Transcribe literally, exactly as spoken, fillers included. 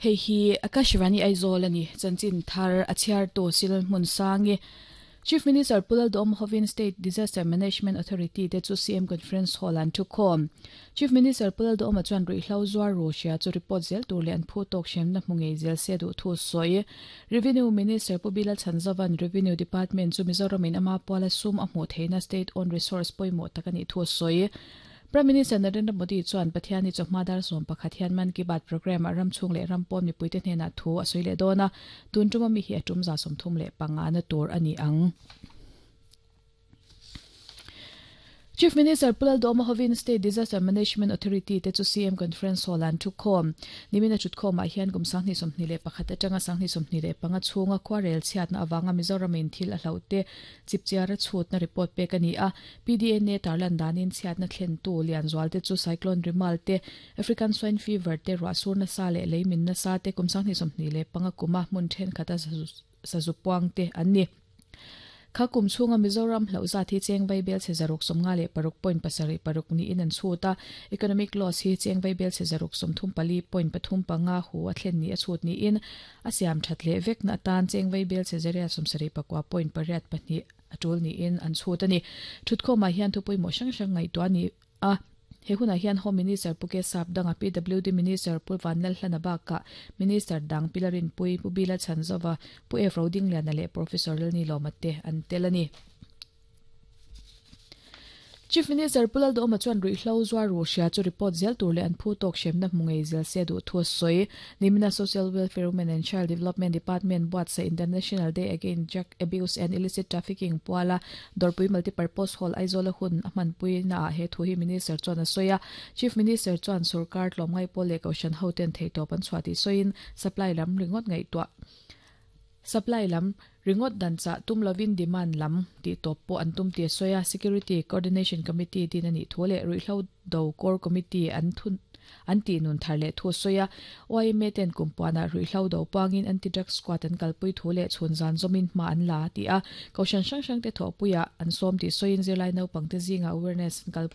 Hei hi Akashvani Aizawl ani chanchin thar a chhiar tu sil hmun sangi Chief Minister Pu Lalduhoma hovin State Disaster Management Authority te chu C M Conference Hall an thu khawm. Chief Minister Pu Lalduhoma chuan ruihhlo zuar ru hria chu report zel tur leh an phu tawk hremna hmu ngei zel se duh thu sawi. Revenue Minister Pu Bilal Chhanzovan Revenue Department chu Mizoramin ama puala sum a hmuh theihna state owned resource pawimawh tak anih thu sawi. Prime Minister Narendra Modi chuan Pathiani chawhma dar sawm pakhat hian Mann Ki Baat program a ram chhung leh ram pawn mipuite hnenah thu a sawi leh dawn a, tun tuma mi hi a tum za sawmthum leh panga na tur a ni ang. Chief Minister Pu Lalduhoma hovin State Disaster Management Authority te chu C M Conference Hall an thu khawm. Nimina thut khawmah hian kum sanghnih sawmhnih leh pakhat atanga sanghnih sawmhnih leh panga chhunga khuarel chhiatna avanga Mizoramin thil a hlauh te chipchiara chhutna report pek a ni a. P D N A tarlan danin chhiatna thlen tu Lianzual te chu Cyclone Rimal te, African Swine Fever te, ruahsur nasa leh leimin nasa te kum sanghnih sawmhnih leh panga kuma hmun thenkhat a sazupuang te an ni. Kha kum chhunga Mizoram hlauh zat hi cheng vaibel che zaruk sawmnga leh paruk point pasarih paruk niin an chhut a. Economic loss hi cheng vaibel che zaruk sawmthum pali point pathum panga hu a thlen ni a chhut niin a siam that leh vek na atan cheng vaibel che zaria sawmsarih pakua point pariat pahnih a tul niin an chhut ani. Thutkhawmah hian thupui mawh hrang hrang ngaihtuah ani a. He hunah hian Home Minister Pu Kesap danga P W D Minister Pu Vanlal Hlana baka Minister dang Pilarin Pui Pu Bila Chhanzova Pu F Rodingliana leh Professor Lalni Lawmate an tel ani. Chief Minister Pu Lalduhoma chuan ruihhlo zuar ru hria chu report zel tur leh an phu tawk hremna hmu ngei zel se duh thu a sawi. Nimina Social Welfare Women and Child Development Department buatsaih International Day Against Drug Abuse and Illicit Trafficking puala Dawrpui Multipurpose Hall Aizawl a hun a hmanpui naah he thu hi Minister chuan a sawi a. Chief Minister chuan sarkar tlawmngai pawl leh kohhran ho ten theitawp an chhuah tih sawiin supply lam ringawt ngaihtuah supply lam ringawt dan chah tum lovin demand lam tih tawp pawh an tum ti a sawi a. Security Coordination Committee din ani thu leh ruihhlo do core committee an thun an ti nun thar leh thu a sawi a. Y M A ten kumpuanah ruihhlo do pangin anti-drug squad an kalpui thu leh chhun zan zawmin hma an la ti a. Kohhran hrang hrang te thawhpuiah an sawm tih sawiin zirlai naupang te zinga awareness an kalpui